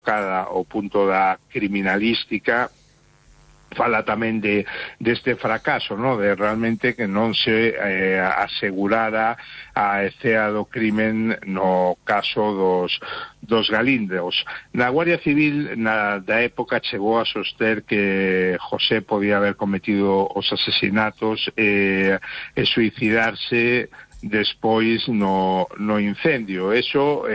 tocada ao punto da criminalística, fala tamén deste fracaso, no? De realmente que non se asegurara a escena do crimen no caso dos galindeos. Na Guardia Civil da época chegou a soster que José podía haber cometido os asesinatos e suicidarse despois no incendio. Eso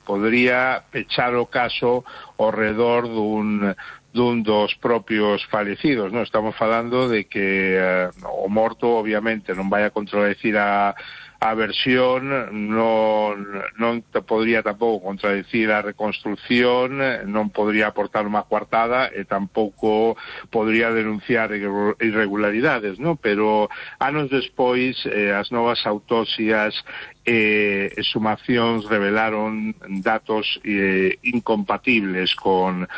podría pechar o caso ao redor dun dos propios falecidos, non? Estamos falando de que o morto obviamente non vai a contradecir a versión, non podría tampouco contradecir a reconstrucción, non podría aportar unha coartada e tampouco podría denunciar irregularidades, non? Pero anos despois as novas autopsias e sumacións revelaron datos incompatibles con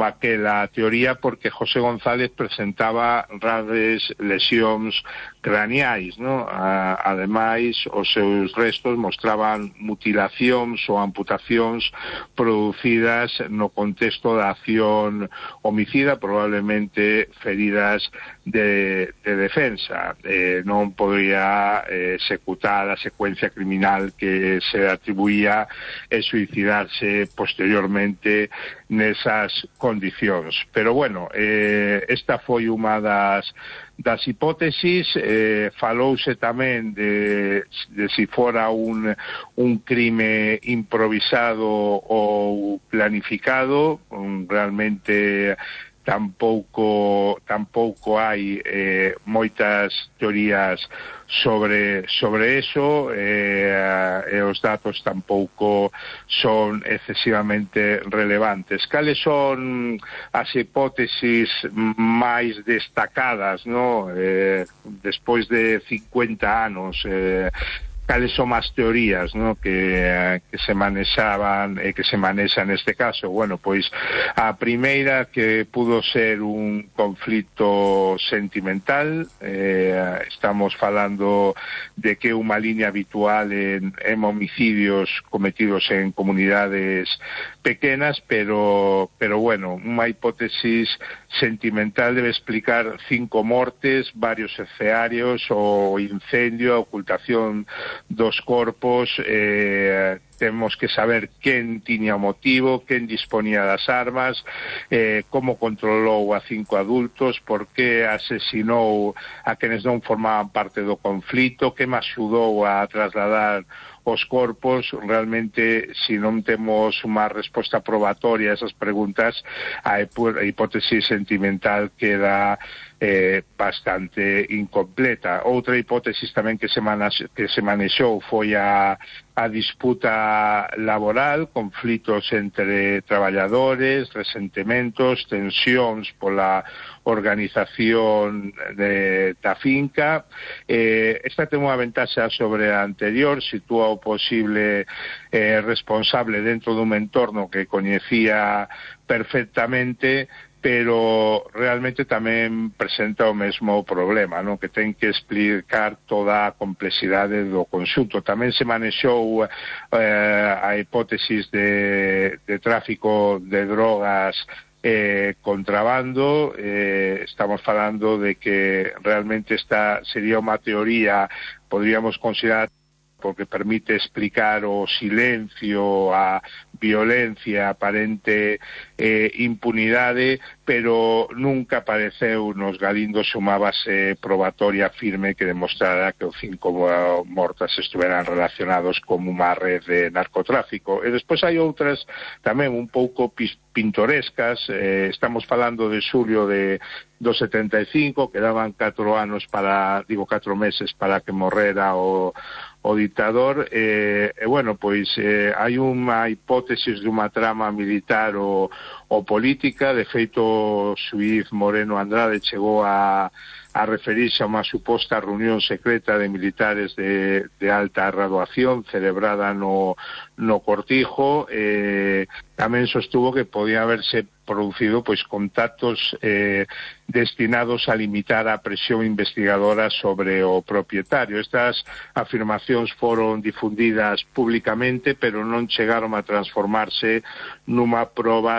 aquela teoría, porque José González presentaba graves lesións craneais, non? Ademais, os seus restos mostraban mutilacións ou amputacións producidas no contexto da acción homicida, probablemente feridas de defensa. Non podría executar a secuencia criminal que se atribuía e suicidarse posteriormente nesas condicións. Pero bueno, esta foi unha das hipótesis. Falouse tamén de si fora un crime improvisado ou planificado. Realmente tampouco hai moitas teorías sobre eso, e os datos tampouco son excesivamente relevantes. Cales son as hipótesis máis destacadas, no? Despois de 50 anos, cales son as teorías, no? que se manexaban e que se manexa neste caso? Bueno, pois a primeira, que pudo ser un conflito sentimental. Estamos falando de que unha liña habitual en homicidios cometidos en comunidades pequenas, pero bueno, unha hipótesis sentimental debe explicar 5 mortes, varios escenarios, o incendio, a ocultación dos corpos. Temos que saber quen tiña o motivo, quen disponía das armas, como controlou a 5 adultos, por que asesinou a quenes non formaban parte do conflito, que me axudou a trasladar os corpos. Realmente, se non temos unha resposta probatoria a esas preguntas, a hipótesis sentimental queda bastante incompleta. Outra hipótesis tamén que se manexou foi a disputa laboral, conflitos entre traballadores, resentimentos, tensións pola organización da finca. Esta ten unha ventaxa sobre a anterior, sitúa o posible responsable dentro dun entorno que coñecía perfectamente, pero realmente tamén presenta o mesmo problema, non? Que ten que explicar toda a complexidade do conxunto. Tamén se manexou a hipótesis de tráfico de drogas, contrabando. Estamos falando de que realmente esta sería unha teoría, podríamos considerar, porque permite explicar o silencio, a violencia, aparente impunidade, pero nunca apareceu nos galindos unha base probatoria firme que demostrara que os 5 mortas estuveran relacionados con unha red de narcotráfico. E despois hai outras tamén un pouco pintorescas. Estamos falando de xulio do 75, quedaban 4 meses para que morrera o dictador. Bueno, pois hai unha hipótesis de unha trama militar ou política. De feito, o xuíz Moreno Andrade chegou a referirse a unha suposta reunión secreta de militares de alta graduación celebrada no Cortijo. Tamén sostuvo que podía haberse producido contactos destinados a limitar a presión investigadora sobre o propietario. Estas afirmacións foron difundidas públicamente, pero non chegaron a transformarse nunha proba